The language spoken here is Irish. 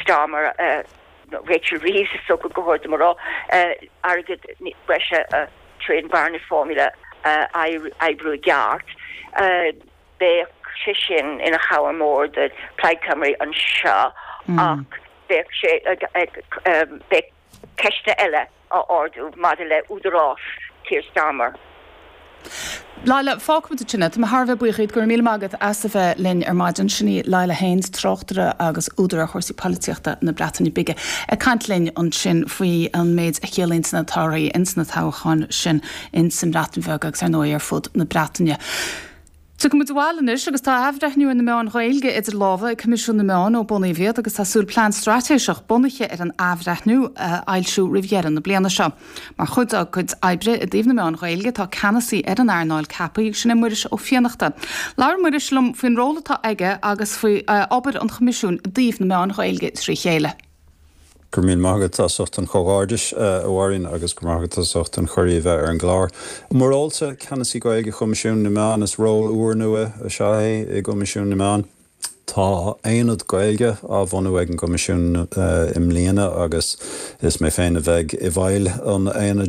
Starmer, Rachel Reeves is dócha gur chóir dom a rá, airgead breise tré an Barnett Formula a oibriú i gceart. Bheadh sé sin ina chabhair mór do Plaid Cymru anseo ach bheadh sé bheadh ceisteanna eile á ardú maidir le údarás Keir Starmer. Laila, fágfaimid ansin é. Tá mé thar a bheith buíoch díot. Go raibh míle maith agat as a bheith linn ar maidin. Sin í Laila Haines, tráchtaire agus údar ar chúrsaí polaitíochta na Breataine Bige, ag caint linn ansin faoi an méid a chiallaíonn na torthaí ins na toghcháin sin ins an mBreatain Bheag agus ar ndóigh ar fud na Breataine. Tiocfaidh muid abhaile anois agus tá athbhreithniú ar na meáin Ghaeilge idir lámha ag Coimisiún na Meán ó bunaíodh iad agus tá súil plean straitéiseach bunaithe ar an athbhreithniú a fhoilsiú roimh dheireadh na bliana seo. Mar chuid dá gcuid oibre i dtaobh na meán Ghaeilge tá ceannasaí ar an earnáil ceaptha agus sin é Muiris Ó Fiannachta. Labhair Muiris liom faoin ról atá aige agus faoi obair an Choimisiúin i dtaobh na meáin Ghaeilge trí chéile. Go raibh míle maith agat as ucht an chomhghairdis, a Mháirín, agus go raibh maith agat as ucht an chuireadh a bheith ar an gclár. Mo rólsa, Ceannasaí Gaeilge Choimisiún na Meán, is ról úrnua is ea é i gCoimisiún na Meán. Tá aonad Gaeilge á bhunú ag an gCoimisiún i mbliana agus is mé féin a bheidh i bhfeighil an aonaid.